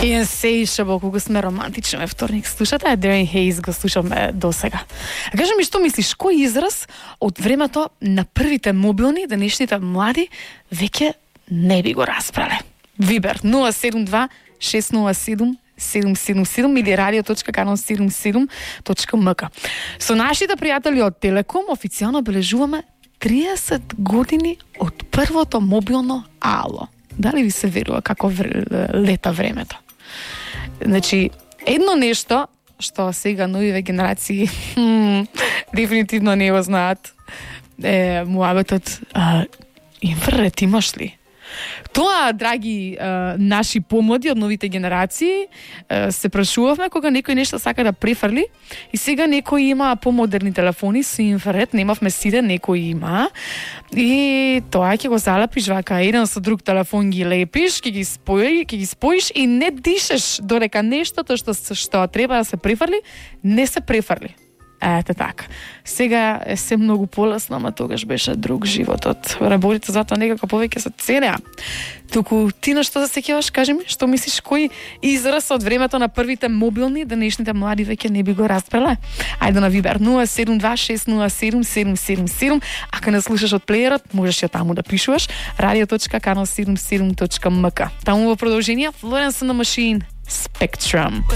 Insatiable, колку сме романтични вторник. Слушате, Darren Hayes го слушаме до сега. А кажи ми, што мислиш, кој израз од времето на првите мобилни, денешните млади, веќе не би го распрале? Вибер 072 607 777 или radio.canon77.mk. Со нашите пријатели од Телеком официјално бележуваме 30 години од првото мобилно ало. Дали ви се верува како лета времето? Значи, едно нешто што сега новиве генерации дефинитивно не го знаат е муабетот инфраред имаш ли? Тоа, драги наши помлади од новите генерации, се прашувавме кога некој нешто сака да префрли и сега некој има помодерни телефони со инфраред, немавме сите, некој има и тоа ќе го залепиш вака, еден со друг телефон ги лепиш, ќе ги споиш и не дишеш додека нештото што треба да се префрли, не се префрли. Ете така. Сега е се многу полесно, ама тогаш беше друг животот. Работите затоа некако повеќе се ценеа. Туку ти на што да се сеќаваш, кажи ми, што мислиш кој израз од времето на првите мобилни, денешните млади веќе не би го распреле? Ајде на Вибер 072-607-777. Ако не слушаш од плеерот, можеш ја таму да пишуваш radio.canon77.mk. Таму во продолжение Florence and the Machine, Spectrum.